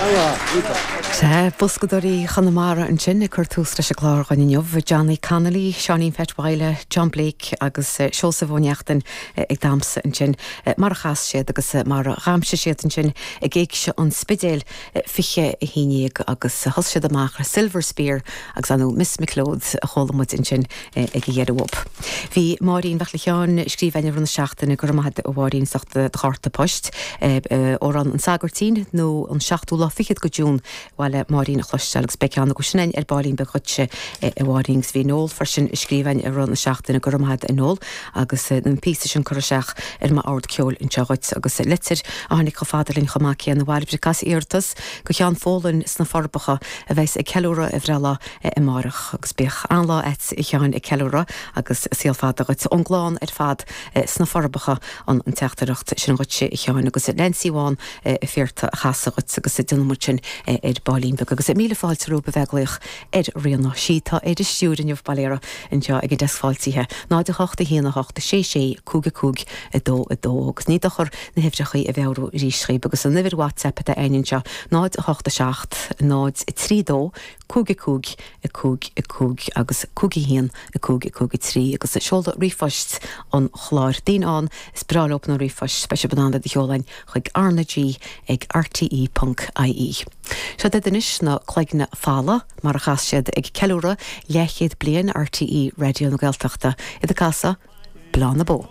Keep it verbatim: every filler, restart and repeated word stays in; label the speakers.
Speaker 1: Sea, Boscadóirí Chonamara ansin ag cur tús leis an gclár againn inniu, Johnny Connolly, Seáinín Pheait Mhaidhle, John Blake agus eh, Seosamh Ó Neachtain eh, ag damhsa ansin eh, mar a chas siad agus mar a dhamhsaigh siad ansin ag Éigse an Spidéil fiche a haon déag agus thosaigh siad amach ar Silver Spear agus anu Miss McLeod a chuala muid ansin ag an deireadh. Bhí Máirín Mhic Sheáin scríbhinn na seachtaine go maith a Mháirín as ucht do chárta poist amhrán an Sagairtín nó an seachtú lá fichead de June bhile Máirín chloisteáil agus beidh go sin ar baillín beag dhuitse a Mháirín bhí Noel freisin scríbhinn ar na seachtaine go maith a Noel agus an píosa sin curtha isteach ar m'ord ceoil anseo dhuit agus litir a tháinig chomh fada linn chomh maith céanna bhailbreachas iarratas go Sheán Fólan sna Forbacha a bheas ag ceiliúradh a bhreithlá amárach agus bíodh an-lá agat a Sheáin ag ceiliúradh agus saol fada dhuit ón gclann ar fad sna Forbacha an an teachtaireacht sin dhuit a Sheáin agus Nancy Bháin féarta a chasadh dhuit agus déanfaidh muid sin ar baillín beag agus míle fáilte romhaibh a bheith ag glaoch ar Ríona sí atá ar an stiúir inniu Baléara anseo ag an deasc fáiltithe náid a hocht a haon a hocht sé sé cúig a cúig a dó a dó agus ní dochar na huimhreacha a mheabhrú arís daoibh agus an uimhir WhatsApp atá againn anseo náid a hocht a seacht náid a trí dó cúig a cúig a cúig a cúig agus cúig a haon a cúig a cúig a trí agus seoladh ríomhphoist an chláir daoine ann is breá leo na ríomhphoist beidh sibh in ann iad a sheoladh chuig RnaG ag RTE.ie. Seo anois na Cloigne Falla mar a chas siad ag ceiliúradh leathchéad bliain RTÉ Raidió na Gaeltachta iad ag casadh Bláth na Bó.